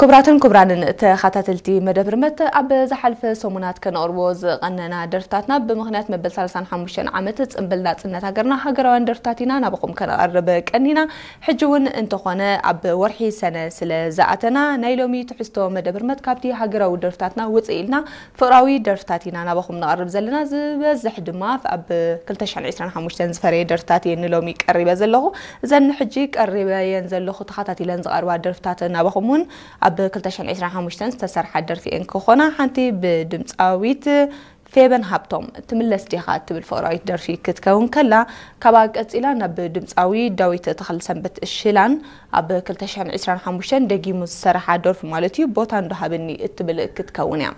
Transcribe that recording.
ክቡራትን ክቡራንን ተኸታተልቲ መደብ ርመት፣ ኣብ ዝሓልፈ ሰሙናት ከነቕርቦ ዝቐነና ደርፍታትና ብምኽንያት መበል ሰላሳን ሓሙሽተን ዓመት ጽንብል ናጽነት ሃገርና ሃገራውያን ደርፍታት ኢና ናባኹም ከነቐርብ ቀኒና። ሕጂ እውን እንተኾነ ኣብ ወርሒ ሰነ ስለ ዝኣተና ናይ ሎሚ ትሕዝቶ መደብ ርመት ካብቲ ሃገራዊ ደርፍታትና ውፅእ ኢልና ፍቕራዊ ደርፍታት ኢና ናባኹም ነቐርብ ዘለና። ዝበዝሕ ድማ ኣብ ክልተ ሽሕን ዕስራን ሓሙሽተን ዝፈረየ ደርፍታት እየ ንሎሚ ቀሪበ ዘለኹ። እዘን ሕጂ ቀሪበየን ዘለኹ ተኸታቲለን ዝቐርባ ደርፍታት ናባኹም እውን ኣብ ክልተ ሽሕን ዕስራን ሓሙሽተን ዝተሰርሓ ደርፊ እየን ክኾና። ሓንቲ ብድምፃዊት ፌበን ሃብቶም ትምለስ ዲኻ እትብል ፍቕራዊት ደርፊ ክትከውን ከላ፣ ካብኣ ቀፂላ ናብ ድምፃዊ ዳዊት ተኽለሰንበት ሽላን ኣብ ክልተ ሽሕን ዕስራን ሓሙሽተን ደጊሙ ዝሰረሓ ደርፊ ማለት እዩ፣ ቦታ እንዶ ሃብኒ እትብል ክትከውን እያ።